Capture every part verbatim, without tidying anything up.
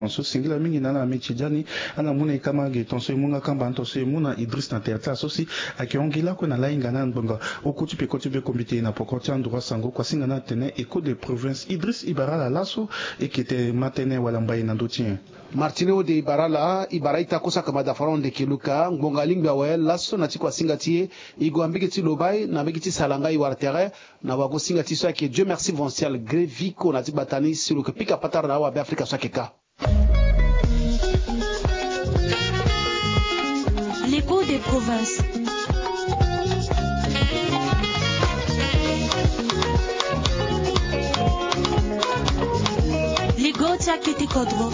Tonso singila mingi na ala miti diani. Ala mu na e kama ge tonso e mu nga kamba tonso e mu na Idriss na tere ti ala so si ayeke hon gi lakue na lahinga na ngbonga. Oko ti peko ti be kombite na poko ti androit sango kuasinga na atene Echo de province Idriss e bara ala laso. E kete ma tënë wala mbai na ndö ti nyen? Martine ode e bara ala e bara ita kosa kama dafaron ndeke luka ngbonga lingbi awe laso na ti kuasinga ti e. E gue na mbege ti lobai na mbege ti salanga e wara tere na wagosinga ti so ayeke Dieu merci Vancial Greviko na ti gbata ni si lo yeke pika patara na awabe Afrika so ayeke ka. L'écho des provinces. Ligo ti akete kodro.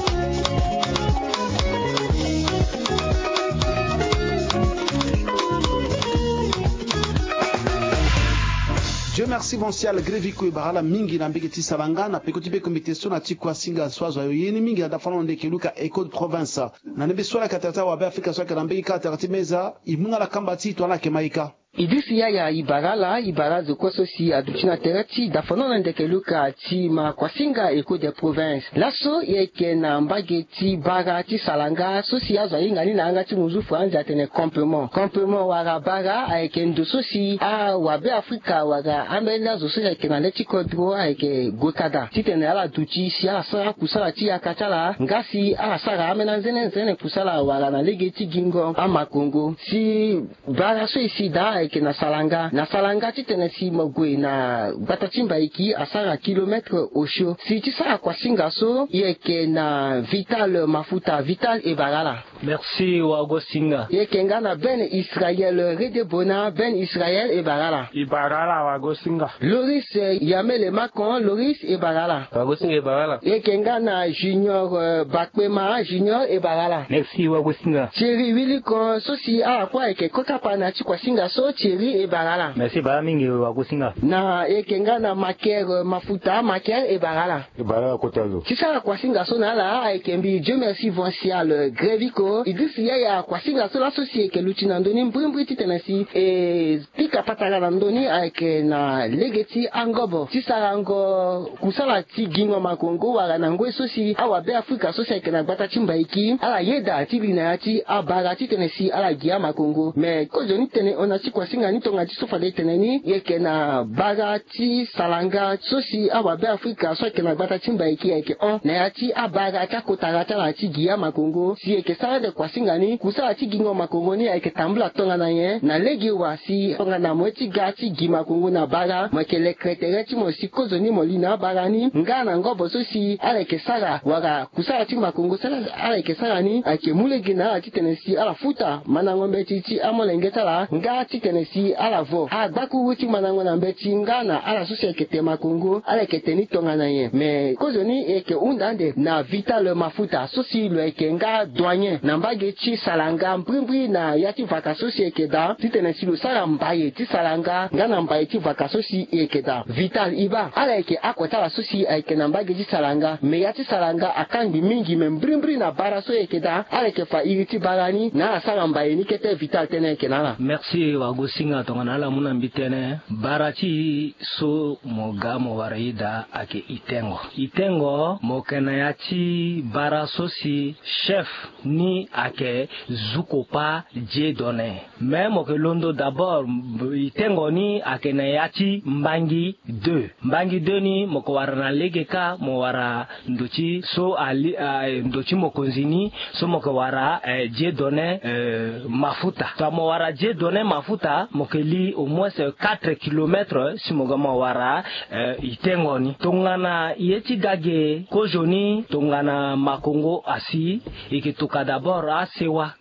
Dieu merci Vancial Greviko e bara ala mingi na mbege ti salanga na peko ti be kombite so na ti kuasinga so azo ayo ye ni mingi na dafanon ndeke luka Echo de province. Na ndembe so ala yeke atara ti awabe Afrika so ayeke na mbege kâ atara ti meza e mu na ala kamba ti e to ala yeke ma e ka. Idriss Yaya e bara ala e bara azo kue so si aduti na tere ti dafanon na ndeke luka ti ma kuasinga Echo de province. Laso e yeke na mbage ti bara ti salanga so si azo ahinga ni na yanga ti muzu franzi atene campement. Campement wala bara ayeke ndo so si awabe Afrika wala ambeni azo so si ayeke na le ti kodro ayeke gue kada titene ala duti si ala sara kusala ti yaka ti ala nga si ala sara ambeni anzene nzene kusala wala na lege ti gingo amakongo. Si bara so e si daa ayeke na salanga na salanga titene si mo gue na gbata ti mbaiki asara kilometre osio. Si ti sara kuasinga so e yeke na Vital Mafuta. Vital e bara ala. Merci wagosinga. E yeke nga na Ben Israel Redebona. Ben Israel e bara ala. E bara ala wagosinga. Loris Yamele Makon. Loris e bara ala. Wagosinga e bara ala. E yeke nga na Junior Bakpema. Junior e bara ala. Merci wagosinga. Thierry Wilikon so si ala kue ayeke kota pa na ti kuasinga so Thierry e bara ala. Merci bara mingi wagosinga. Na e yeke nga na Maker Mafuta. Maker e bara ala. E bara ala kota lo. Ti sara kuasinga so na ala ayeke mbi Dieu merci Vancial Greviko. Idriss Yaya kuasinga so laso si e yeke luti na ndö ni mbrimbri titene si e pika patara na ndö ni ayeke na lege ti angobo ti sarango kusala ti gingo makongo wala na ngoi so si awabe Afrika so si ayeke na gbata ti mbaiki ala yeda ti li na ya ti abara titene si ala gi amakongo. Me kozoni tene hon na ti kuasinga ni tonga ti so fade e tene ni e yeke na bara ti salanga so si awabe Afrika so ayeke na gbata ti mbaiki ayeke hon na ya ti abara ti akotara ti ala ti gi amakongo. Si e yeke sara ande kuasinga ni kusala ti gingo makongo ni ayeke tambula tongana nyen na lege wa si tongana mo ye ti ga ti gi makongo na bara mo yeke lekere tere ti mo si kozoni mo li na abara ni nga na ngobo so si ala yeke sara wala kusala ti makongo so ala yeke sara ni ayeke mu lege na ala titene si ala futa mandango mbeti ti amolenge ti ala nga titene si ala vo agbakuru ti mandango na mbeti nga na ala so si ayeke te makongo ala yeke te ni tongana nyen. Me kozoni e yeke hunda ande na Vital Mafuta so si lo yeke nga douanier na mbage ti salanga mbrimbri na ya ti vaka so si e yeke daa titene si lo sara mbaye ti salanga nga na mbaye ti vaka so si e yeke daa. Vital e baa ala yeke oko ti ala so si ayeke na mbage ti salanga me ya ti salanga akangbi mingi me mbrimbri na bara so e yeke daa ala yeke fa iri ti bara ni na ala sara mbaye ni kete. Vital tënë ayeke na ala. Merci wagosinga tongana ala mu na mbi tënë bara ti so mo ga mo wara e daa ayeke itengo. Itengo mo yeke na ya ti bara so si chef ni ayeke Zukopa Dieudonné. Me mo yeke londo d'abord itengo ni ayeke na ya ti Mbangi deux. Mbangi deux ni mo yeke wara na lege kâ mo wara ndo ti so ali ndo ti mokonzi ni so mo yeke wara Dieudonné Mafuta. Tongana mo wara Dieudonné Mafuta mo yeke li au moins quatre kilomètres si mo ga mo wara itengo ni. Tongana ye ti ga ge kozoni tongana makongo asi e yeke toka d'abord asewa.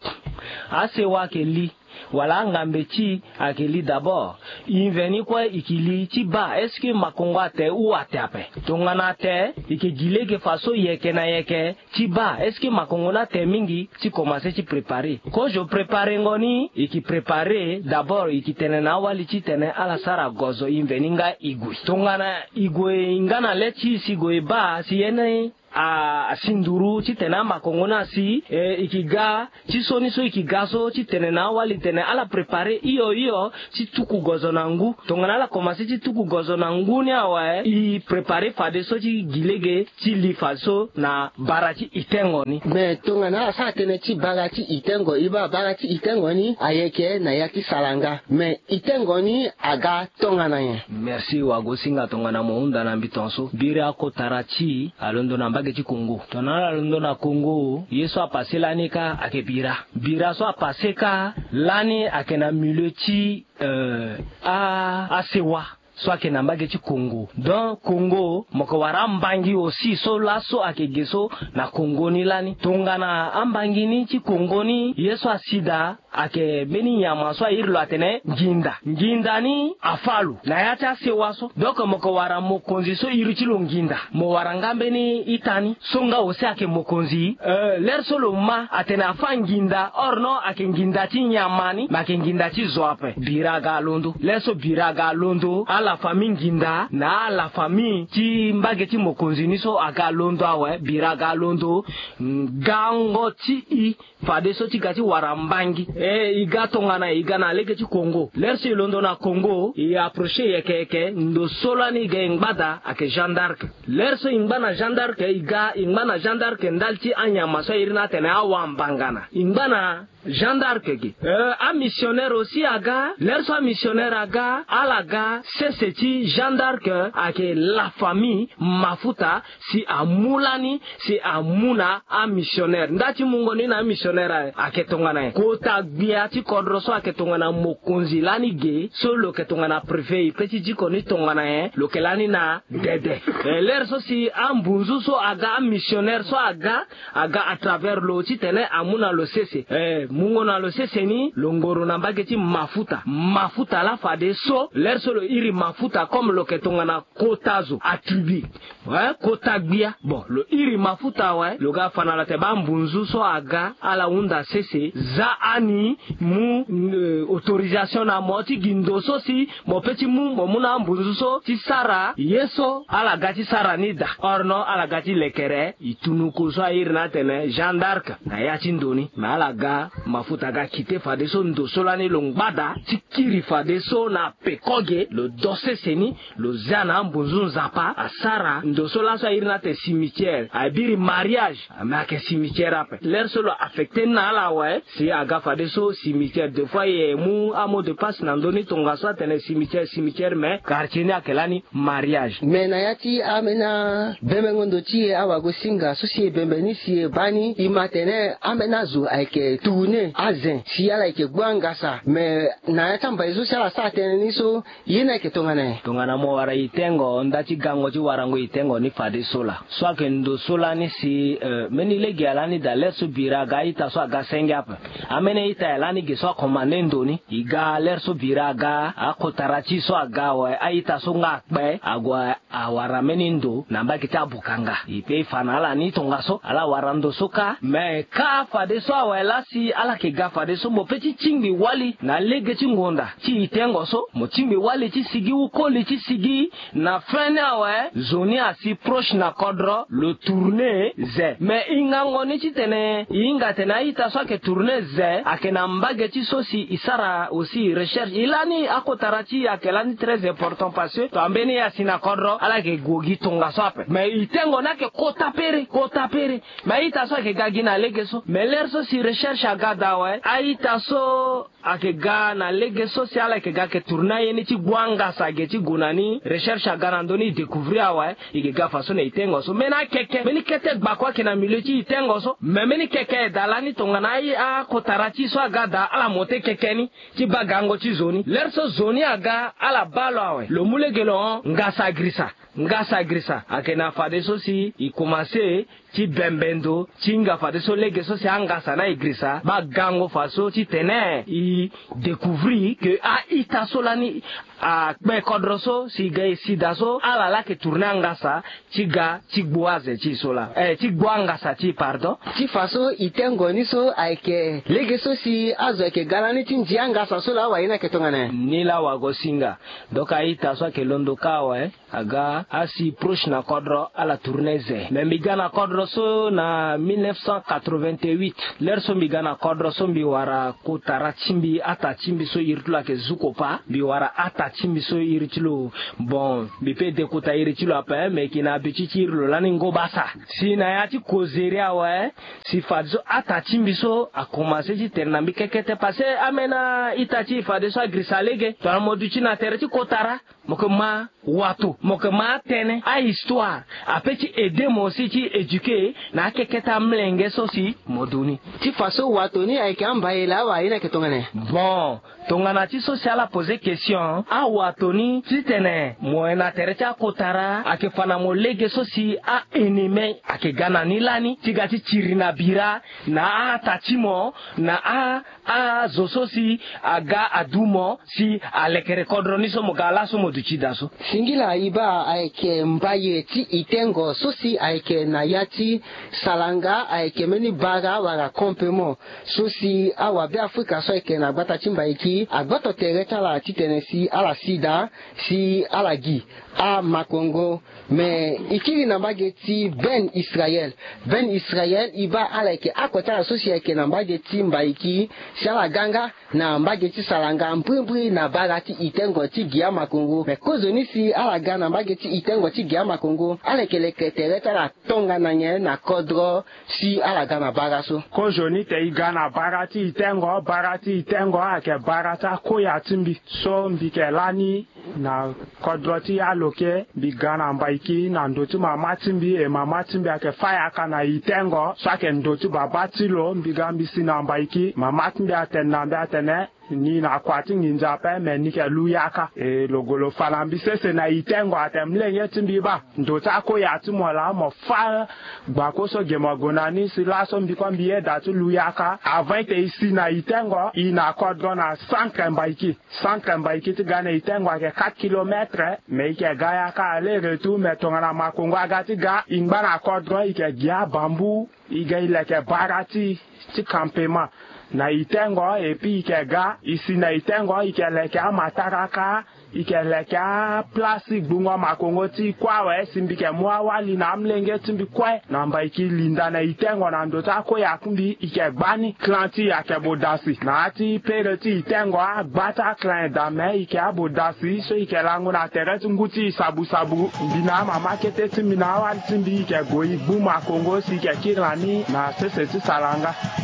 Asewa ayeke li wala angambe ti e ayeke li d'abord. E mveni kue e yeke li ti baa est-ce que makongo ate ou ate ape? Tongana ate e yeke gi lege faso yeke na yeke ti baa est-ce que makongo ni ate mingi ti komanse ti préparer. Kozo préparengo ni e yeke préparer d'abord e yeke tene na awali titene ala sara gozo e mveni nga e gue. Tongana e gue e nga na le ti e si e gue e baa si ye ni a, asi nduru titene amakongo ni asi, e, e ke ga ti sioni so e ke ga so titene na awali tene ala préparer hio hio ti tuku gozo na ngu. Tongana ala komanse ti tuku gozo na ngu ni awe, e préparer fadeso ti gi lege ti li fadeso na bara ti itengo ni. Me tongana ala sara tënë ti bara ti itengo, e baa bara ti itengo ni ayeke na ya ti salanga. Me itengo ni aga tongana nyen? Merci wagosinga tongana mo hunda na mbi tongaso. Biri akotara ti e alondo na mbage ti Congo. Tongana ala londo na Congo, ye so apase lani kâ ayeke bira. Bira so apase kâ lani ayeke na milieu ti, euh, a, asewa so ayeke na mbage ti Congo. Donc Congo, mo yeke wara ambangi aussi so laso ayeke ge so na Congo ni lani. Tongana ambangi ni ti Congo ni, ye so asi daa ayeke mbeni nyama so a iri lo atene nginda. Nginda ni afâ lo na ya ti asewa so. Donc mo yeke wara mokonzi so iri ti lo nginda. Mo wara nga mbeni ita ni so nga aussi ayeke mokonzi. Euh, l'heure so lo ma atene afâ nginda, or non, ayeke nginda ti nyama ni, me ayeke nginda ti zo ape. Bira aga alondo. L'heure so bira aga alondo, ala famille nginda na ala famille ti mbage ti mokonzi ni so aga alondo awe, bira aga alondo. Gango ti e fadeso ti ga ti wara mbangi. E, e ga tongana e ga na lege ti Congo. L'heure so e londo na Congo, e approcher yeke yeke, ndo so lani e ga e ngba daa ayeke Jeanne d'Arc. L'heure so e ngba na Jeanne d'Arc, e ga e ngba na Jeanne d'Arc ndali ti anyama so a iri ni atene awambangana. E ngba na Jeanne d'Arc ge. Euh, amissionnaire aussi aga. L'heure so amissionnaire aga, ala ga sese ti Jeanne d'Arc ayeke la famille mafuta, si amu lani, si amu na amissionnaire. Nda ti mungo ni na amissionnaire ayeke tongana nyen? Kota gbia ti kodro so ayeke tongana mokonzi lani ge, so lo yeke tongana préfet, e pe ti diko ni tongana nyen? Lo yeke lani na dede. Eh, l'heure so si ambunzu so aga, amissionnaire so aga, aga à travers lo titene amu na lo sese. Eh, mungo na lo sese ni, lo ngoro na mbage ti mafuta. Mafuta laa fadeso, l'heure so lo iri mafuta comme lo yeke tongana kota zo, attribut. Eh, kota gbia. Bon, lo iri mafuta awe, lo ga fa na lo atene baa mbunzu so aga, ala hunda sese, za ani mu, eh, autorisation na mo ti gi ndo so si mo pe ti mu, mo mu na ambunzu so ti sara ye so ala ga ti sara ni daa. Or non, ala ga ti lekere e tunuku so a iri ni atene Jeanne d'Arc na ya ti ndo ni. Me ala ga, mafuta aga kite fadeso ndo so lani lo ngba daa ti kiri fadeso na peko ge, lo do sese ni, lo zia na ambunzu Nzapa, asara ndo so laso a iri ni atene cimetière. Abiri mariage, me ayeke cimetière ape. L'heure so lo affecté ni na ala awe, si aga fadeso cimetière. Des fois e mu amot de passe na ndö ni tongaso atene cimetière, cimetière, mais quartier ni ayeke lani mariage. Me na ya ti ambeni abebengo ndo ti e awagosinga so si e bembe ni si e baa ni, e ma atene ambeni azo ayeke tourner azen si ala yeke gbu angasa. Me na ya ti ambai so si ala sara tënë ni so, ye ni ayeke tongana nyen? Tongana mo wara itengo, nda ti gango ti warango itengo ni fadeso laa. So ayeke ndo so lani si, eh, mbeni lege ya lani daa, l'heure so bira aga, a-ita so aga senge ape. Ambeni a-ita ya lani ge so acommandé ndo ni. E ga l'heure so bira aga, akotara ti e so aga awe, a-ita so nga akpe, ague awara mbeni ndo na mbage ti abokanga. E pe e fa na ala ni tongaso, ala wara ndo so kâ. Me kâ fadeso awe laa si ala yeke ga fadeso, mo pe ti tingbi wali na lege ti ngonda ti itengo so, mo tingbi wali ti sigi ou koli ti sigi. Na fin ni awe, zo ni asi proche na kodro, lo tourner ze. Me e ngango ni titene e hinga atene a-ita so ayeke tourner ze ayeke na mbage ti so si e sara aussi recherche. E lani akotara ti e ayeke lani très important parce que to ambeni e asi na kodro, ala yeke gue gi tongaso ape. Me itengo ni ayeke kota pere, kota pere. Me a-ita so ayeke ga gi na lege so. Me l'heure so si recherche aga daa awe, a-ita so ayeke ga na lege so si ala yeke ga yeke tourner aye ni ti gbu angasa ge ti gue na ni, recherche aga na ndö ni, e découvrir awe, e yeke ga faso na itengo so. Mbeni akeke, mbeni kete gbako ayeke na milieu ti itengo so. Me mbeni keke aye daa lani tongana aye akotara ti e so aga daa, ala mote keke ni ti baa gango ti zo ni. L'heure so zo ni aga, ala baa lo awe, lo mu lege lo hon, ngasa girisa. Ngasa girisa ayeke na fadeso si e komanse ti bembe ndo ti hinga fadeso lege so si angasa na e girisa baa gango fa so titene e découvrir que a-ita so lani akpe kodro so si ga e si daa so ala laa ayeke tourner angasa ti ga ti gbu aze ti e so laa, eh, ti gbu angasa ti e, pardon. Ti fa so e tengo ni so ayeke lege so si azo ayeke ga lani ti ndia angasa so laa awe, aye ni ayeke tongana nyen? Ni laa wago singa. Donc a-ita so ayeke londo kâ awe, aga asi proche na kodro ala tourner ze. Me mbi ga na kodro so na mille neuf cent quatre-vingt-huit. L'heure so mbi ga na kodro so mbi wara kotara ti mbi, ata ti mbi so iri ti lo ayeke Zukopa. Mbi wara ata ti mbi so iri ti lo, bon, mbi peut de kota iri ti lo ape, me e yeke na abiti ti iri lo lani Ngobasa. Si na ya ti kozeri awe, si fadeso ata ti mbi so akomanse ti tene na mbi kekete, parce que ambeni a-ita ti e fadeso agirisa lege. Tongana mo duti na tere ti kotara, mo yeke ma wato, mo yeke ma atënë, ahistoire, ape ti aider mo aussi ti éduquer na akekete amolenge so si mo du ni. Ti fa so wato ni ayeke ambayela awe, aye ni ayeke tongana nyen? Bon, tongana ti so si ala poser question, awato ni titene mo yeke na tere ti akotara, ayeke fa na mo lege so si a-ennemi ayeke ga na ni lani ti ga ti tiri na bira na a-ata ti mo, na a azo so si aga adu mo si alekere kodro ni so mo ga laso mo duti daa so. Singila e baa ayeke mbaye ti e tengo so si ayeke na ya ti Salanga, ayeke mbeni bara wala campement so si awabe Afrika so ayeke na gbata ti Mbaiki agboto tere ti ala titene si ala si daa si ala gi amakongo. Me e kiri na mbage ti Ben Israel. Ben Israel e baa ala yeke oko ti ala so si ayeke na mbage ti Mbaiki, si ala ga nga na mbage ti Salanga, mbrimbri na bara ti e tengo ti gi amakongo. Me kozoni si ala ga na mbage ti e tengo ti gi amakongo, ala yeke leke tere ti ala tongana nyen na kodro si ala ga na bara so? Kozoni te e ga na bara ti e tengo, bara ti e tengo ayeke bara ti akoya ti mbi so mbi yeke lani na kodro ti Aloke. Mbi ga na Mbaiki na ndö ti mama ti mbi, e mama ti mbi ayeke fâ yaka na e tengo so ayeke ndö ti baba ti lo. Mbi ga mbi si na Mbaiki, mama ti mbi atene na mbi atene ni na kua ti nginza ape, me ni yeke lu yaka. E lo gue lo fa na mbi sese na e tengo atene, molenge ti mbi, baa ndö ti akoya ti mo laa mo fâ gbako so ge mo gue na ni. Si laso mbi kue mbi yeda ti lu yaka. Avant ete e si na e tengo, e na kodro na centre Mbaiki. Centre Mbaiki ti ga na e tengo ayeke quatre kilomètres, me e yeke ga yaka aller retour. Me tongana makongo aga ti ga, e ngba na kodro, e yeke gi abambu, e ga e leke bara ti e ti campement na e tengo. Et puis e yeke ga, e si na e tengo, e yeke leke amataraka, e yeke leke aplace ti gbungo makongo ti e kue awe. Si mbi yeke mu awali na amolenge ti mbi kue na Mbaiki linda na e tengo na ndö ti akoya ti mbi, e yeke gba ni. Clan ti e ayeke Bodasi. Na ya ti pere ti e tengo, agba ti aclan daa, me e yeke Abodasi so e yeke lango na tere ti ngu ti e Sabusabu. Mbi na amama kete ti mbi na awali ti mbi, e yeke gue e gbu makongo si e yeke kiri na ni na sese ti Salanga.